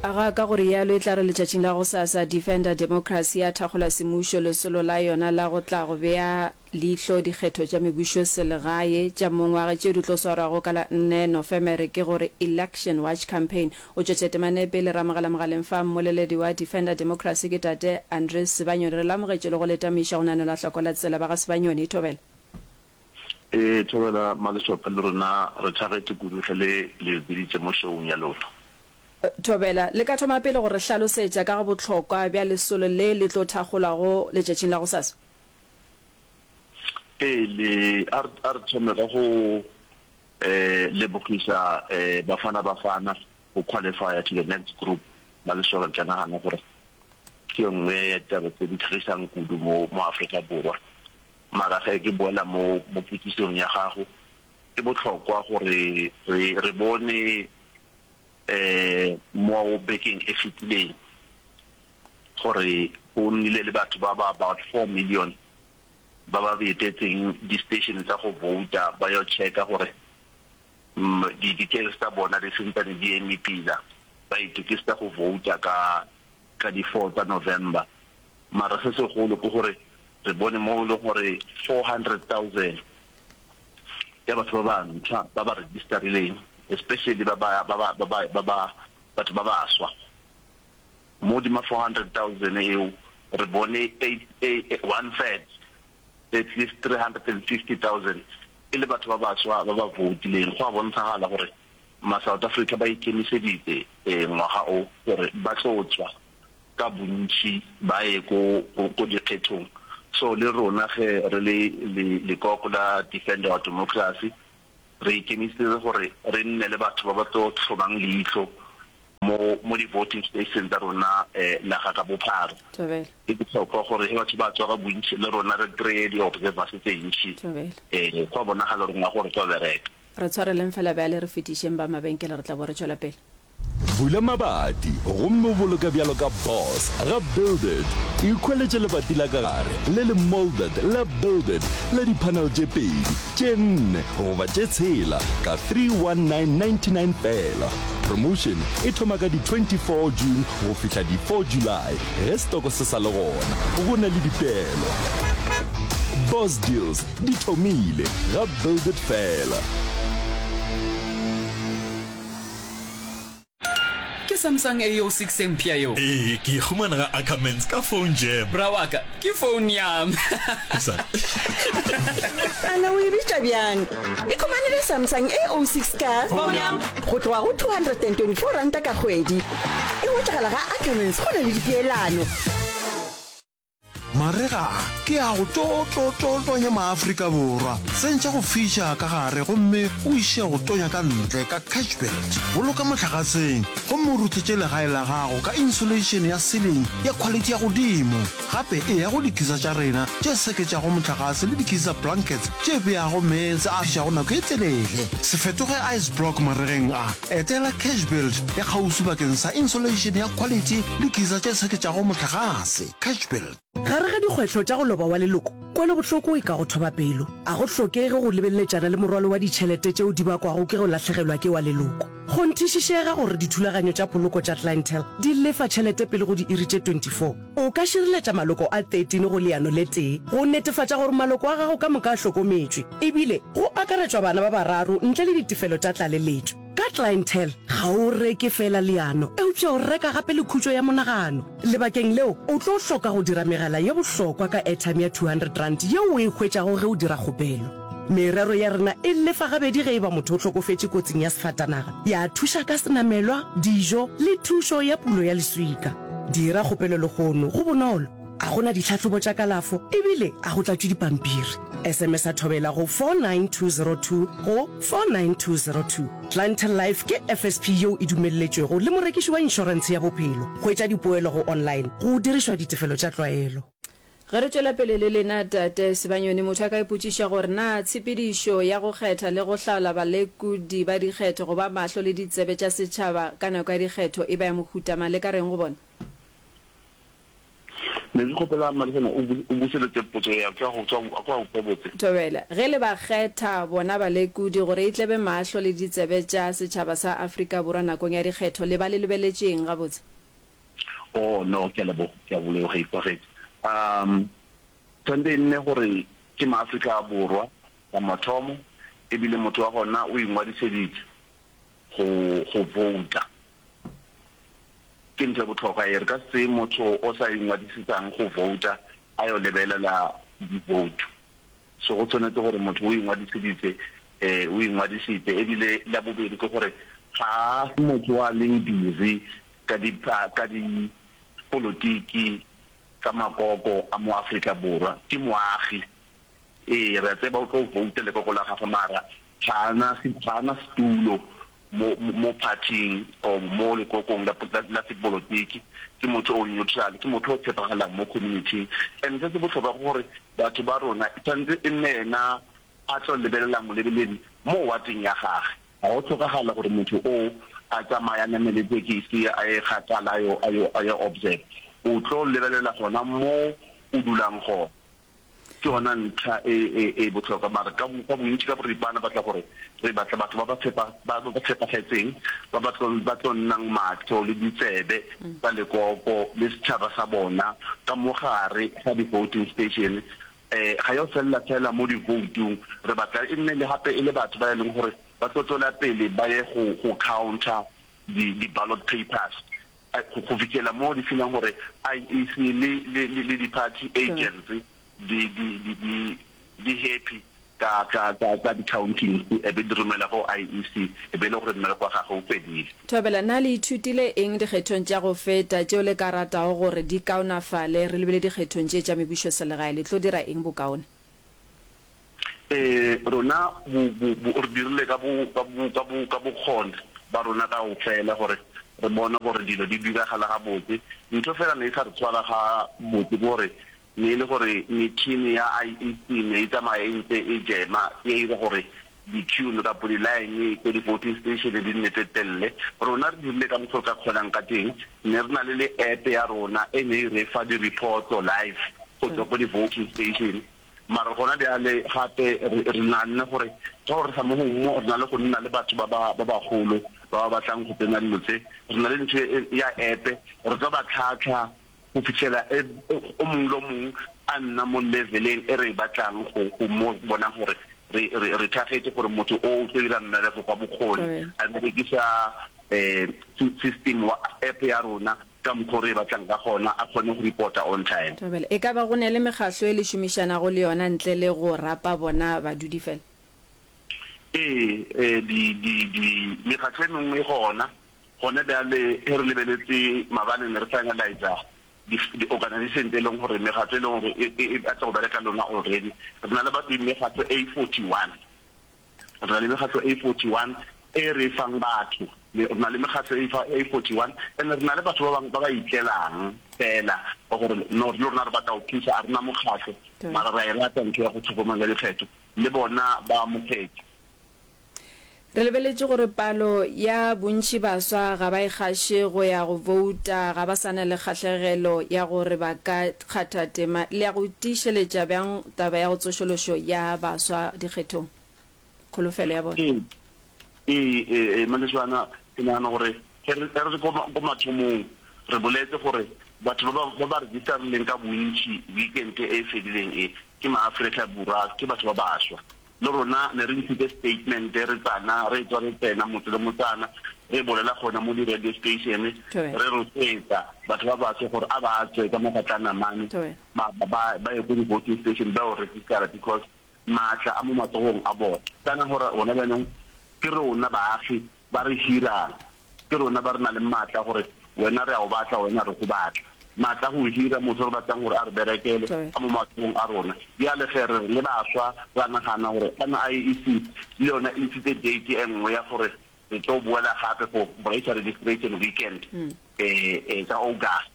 Aga ka go realo e tla re letšatšing la gosasa Defender Democracy ya thakgola semmušo lesolo la yona la go tla go bea leihlo dikgetho tša mebušo selegae tša mongwaga tšeo di tlo swarwago ka la nne Nofemere ke gore Election Watch Campaign. O tšwetša temana e pele re amogela mogaleng fa mmoleledi wa Defender Democracy ke tate Andries Sibanyoni. Re le amogetše le go le tamiša go nanelwa hloko la tsela ba ga Sibanyoni. Thobela. Ee Thobela Malešope le rena re thagetše kudu ge le le biditše mo showng ya lona. Thobela, le ka thoma pele go re hlalosetša ka ga bohlokwa bja lesolo le le tlo thakgolwago letšatšing la gosasa? Ee, le, a re, a re thome ka go lebogiša Bafana Bafana go qualifya to the next group. Malešope ke a nagana gore ke ye nngwe ya ditaba tse di thagišang kudu mo, mo Afrika Borwa. Mara ge ke boela mo, mo potšišong ya gago, ke bohlokwa gore re, re bone Mo bekeng e fetileng gore go nnile le batho ba ba about 4 million ba ba etetseng di-station tsa go vouta ba yo checka gore di-details tsa bona di sentsane di eme pila, ba itokisetsa go vouta ka ka di four tsa November. Mara se segolo ke gore re bone mo e leng gore 400,000 ya batho ba bantshwa ba ba registerileng, especially ba ba ba ba ba ba ba batho ba baswa. Mo hodima 400,000 eo re bone eight, one third, at least 350,000 e le batho ba baswa ba ba voutileng. Go a bontshagala gore ma South Africa ba ikemiseditse ngwaga o gore ba tlo tswa ka bontši ba ye ko, ko, ko dikgethong. So le rona ge re le, le, lekoko la Defend Our Democracy, re ikemiseditse gore re nne le batho ba ba tlo hlomang leihlo mo, mo di-voting station tsa rona naga ka bophara. Thobela. E bohlokwa gore ge batho ba tswa ka bontši le rona re kry-e di-observers tse ntši. Thobela. Go a bonagala gore ngwaga o re tlo bereka. Re tshwareleng fela bjale re fetišeng ba mabenkele re tla bo re tšwela pele. Bula mabati gomme o boloke bjalo ka boss ga Build It. Ikhweletše lebati la ka gare le le moulded la Build It la di-panel tše pedi, tše nne goba tše tshela ka 31999 feela. Promotion e thoma ka di 24 June go fihla di 4 July ge setoko se sa le gona. Go na le dipeelo. Boss Deals di thomile ga Build It feela. Ke Samsung A06 e mpsha yeo? Ee, ke e humana ga Ackermans ka phone jam. Bra wa ka, ke phone ya me. Ana o e bitša bjang? Ikhumanele Samsung A06 ka Phone ya me. go tloga go R224 ka kgwedi. E hwetšagala ga Ackermans go na le dipeelano. Marega a ke a go tlo tlo tlo tonya maAfrika Borwa. Tsentšha go fiša ka gare gomme o iše go tonya ka ntle ka Cashbuild. Boloka mohlagaseng gomme o ruthetše legae la gago ka insulation ya ceiling ya khwalithi ya godimo. Gape eya go dikisa tša rena tše seketšago mohlagase le dikisa blankets tše beago meetse a fišago nako e telele. Se fetoge ice block maregeng a. Etela Cashbuild ya kgauswi bakeng sa insulation ya khwalithi le kisa tše seketšago mohlagase. Cashbuild. Gare ga dikgwetlho tša go loba wa leloko, kwelobohloko e ka go thoba pelo. A go hlokege go lebeletšana le morwalo wa ditšhelete tšeo di bakwago ke go lahlegelwa ke wa leloko. Kgonthišišega gore dithulaganyo tša poloko tša Clientele di lefa tšhelete pele go diiri tše 24. O ka šireletša maloko a 13 go leano le tee go netefatša gore maloko a gago ka moka a hlokometšwe, ebile go akaretšwa bana ba bararo ntle le ditefelo tša tlaleletšo. Ka Clientele, ga o reke feela leano, eupša o reka gape le khutšo ya monagano. Lebakeng leo, o tlo hloka go dira megala ye bohlokwa ka airtime ya R200 yeo o e hwetšago ge o dira kgopelo. Merero ya rena e lefa gabedi ge e ba motho o hlokofetše kotsing ya sefatanaga, ya thuša ka senamelwa, dijo le thušo ya pulo ya leswika. Dira kgopelo lehono, go bonolo, a go na ditlhahlobo tša kalafo ebile a go tlatšwe dipampiri. SMS-a Thobela go 49202 go 49202. Clientele Life ke FSP yeo e dumelletšwego le morekiši wa inšorentshe ya bophelo. Hwetša dipoelo go online go dirišwa ditefelo tša tlwaelo. Ge re tšwela pele le lena, Tate Sibanyoni, motho a ka ipotšiša gore na tshepedišo ya go kgetha le go hlaola balekodi ba dikgetho go ba mahlo le ditsebe tša setšhaba ka nako ya dikgetho e ba ya mohuta mang? Le ka reng go bona? Ne ke kgopela Mmadisana o o bušeletše potso ya ka go tswa a kwa go botse. Thobela, ge le ba kgetha bona balekodi gore e tle be mahlo le ditsebe tša setšhaba sa Afrika Borwa nakong ya dikgetho, le ba le lebeletše eng gabotse? Oh, no, ke a leboga, ke a leboga, e kwagetše. Um, tshwanetse e nne gore ke Maafrika Borwa la mathomo, ebile motho wa gona o ingwadišeditše go, go vouta. Ke ntho e bohlokwa ye. Re ka se tseye motho o sa ingwadisetsang go vouta a yo lebelela di-vote. So go tshwanetse gore motho o ingwadiseditse, o ingwadisitse. Ebile la bobedi ke gore ga a se motho o a leng busy ka di ka dipolotiki tsa makoko a mo Afrika Borwa. Ke moagi. Ee, re a tseba o tlo vouta lekoko la gagwe mara ga a na ga a na setulo mo mo phathing or mo lekokong la la sepolotiki. Ke motho o neutral, ke motho o tshepagalang mo community-ing. And se se bohlokwa ke gore batho ba rona e tshwanetse e nne yena a tlo lebelelang molebeledi mo wateng ya gage. Ga go hlokagale gore motho o a tsamaye a namele tekisi a ye kgakala a yo a yo a yo observe. O tlo lebelela gona mo o dulang gona. Ke yona ntlha e, e, e bohlokwa. Mara ka, ka bontši, ka boripana, batla gore re batla batho ba ba tshepa, ba ba tshepagetseng, ba ba tlo, ba tlo nnang mahlo le ditsebe tsa lekoko le setšhaba sa bona ka mo gare ga di-voting station. Um ga yo felela fela mo di-vote-ung, re batla e nne le gape e le batho ba e leng gore ba tlo tswela pele ba ye go, go counter di, di-ballot papers. Go fihlela mo di feelang gore IEC le, le, le, le di-party agents di, di, di, di, di happy ka, ka, ka, ka di-countings, e be di romela go IEC, e be e le gore mmereko wa gagwe o fedile. Thobela, Na le ithutile eng dikgethong tša go feta tšeo le ka ratago gore di kaonafale? Re lebile dikgethong tše tša mebušoselegae, le tlo dira eng bokaone? Ee, rona bo, bo, bo, re dirile ka bo, ka bo, ka bo, ka bokgoni ba rona kaofela gore re bone gore dilo di diragala gabotse. Ntho fela ne e sa re tshwara ga botse ke gore ne e le gore metšhini ya IEC ne e tsamaya e ntse e jema, e ira gore di-queue kapo di-line ko di-voting station di nne tse telele. Rona re dirile ka mokgwa re ka kgonang ka teng, ne re na le le app ya rona e ne e re fa di-reports live go tswa ko di-voting station. Mara gona bjale gape re, re naganne gore ka gore sa mo gongwe mo re na le go nna le batho ba ba, ba bagolo ba ba batlang go tsena dilo tse, re na le ntho e, ya app, re tlo ba tlhatlha go fitlhela e, o mongwe le o mongwe a nna mo leveleng e re e batlang go, go mo bonang gore re, re, re thagetše gore motho o o tlo dira mmereko ka bokgoni, a berekisa um system wa app ya rona. ka mokgo re batlang ka gona, a kgone go reporta on time. Thobela, E ka ba go ne le mekgahlo e le šomišanago le yona ntle le go rapa bona badudi fela? Ee, ee, di, di, di, mekgahlo e mengwe e gona. Gona bjale ge re lebeletse maabane ne re finalizer di, di organization tse e leng gore, mekgahlo e leng gore e, e, e batla go bereka le rona already. Re na le batho mekgahlo e 41. Re na le mekgatlo e 41 e re e fang batho. Re na le mekgatlo e 41 and re na le batho ba bangwe ba ba itlelang fela ba gore no le rona re batla go thusa, a re na mokgatlo mara re a e rata ntho ya go tlhokomela dikgetho, le bona ba amogetse. Re lebeletše gore palo ya bontši baswa ga ba e gaše go ya go bouta, ga ba sa na le kgahlegelo ya gore ba ka kgatha tema. Le ya go tiišeletša bjang taba ya go tsošološo ya baswa dikgethong? Kholofelo ya bona. Ee, ee, ee, Maleswana, ke nagana gore ge re, ge re le ko, ko mathomong, re boletse gore batho ba ba, ba ba registerileng ka bontši weekend e e fedileng e, ke maAfrika Borwa, ke batho ba baswa. Le rona ne re ntshitse statement re tsana, re tswa re tsena motse le motsana, re bolela gona mo di-radio station, re rotloetsa batho ba baso gore a ba tswe ka mafatlana mane, ba, ba, ba ye ko di-voting station ba yo registera because maatla a mo matsogong a bona. Kana gore gona bjanong ke rona baagi ba re hirang, ke rona ba re na leng maatla a gore wena re a o batla, wena re go batla. Maatla a go hira motho re batlang gore a re berekele a mo matsogong a rona. Bjale ge re re le baswa ra nagana gore kana IEC le yona e ntshitse date e nngwe ya gore re tlo boela gape for voter registration weekend ka August.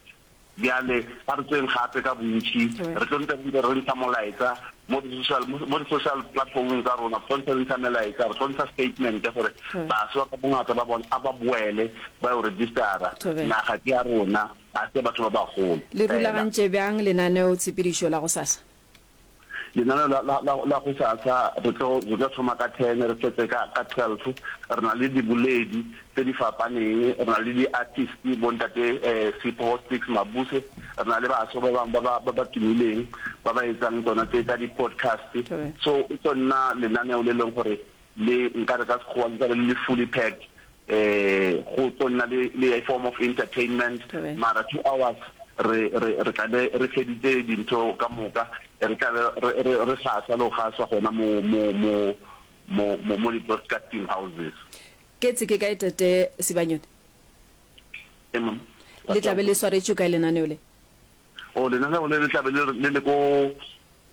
Bjale a re tsweng gape ka bontši, re tlo ntse re ntse re ntsha molaetsa mo di-social, mo di-social platformong tsa rona, re tlo ntse re ntsha melaetsa, re tlo ntsha statement gore baswa ka bongata ba bona a ba boele ba yo registera, naga ke ya rona, ga se ya batho ba bagolo Le fela. rulagantše bjang lenaneo-tshepedišo la gosasa? Lenaneo la, la, la, la gosasa re tlo, re tlo thoma ka ten re fetse ka, ka 12. Re na le diboledi tse di fapaneng, re na le di-artist bo ntate eh, Sipho Sticks Mabuse, re na le baswa ba bangwe ba ba, ba ba tumileng ba ba etsang tsona tse tsa di-podcast. So e tlo nna lenaneo le leng gore le nkare ka Sekgowa le tla be le le fully packed. Eh, go tlo nna le, le a form of entertainment, mara 2 hours re, re, re tla be re feditse dintho ka moka, re tla be re, re, re gasa le go gaswa gona mo, mo, mo, mo, mo, mo di-broadcasting houses. Ketse ke kae Tate Sibanyoni? Ee, ma'am. Le tla be le swaretšwe kae lenaneo le? Oh, lenaneo le le tla be le, le le ko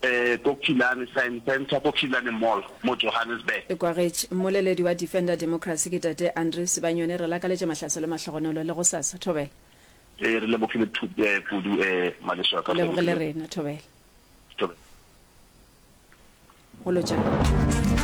eh, ko Killarney Science Centre, ko Killarney Mall mo Johannesburg. E kwagetše. Mmoleledi wa Defender Democracy ke Tate Andre Sibanyoni. Re lakaletša mahlatse le mahlogonolo le gosasa. Thobela. Ee, re lebogile eh, kudu eh, ngwaneso wa ka. Go lebogile rena. Thobela. Thobela. Go lotšana.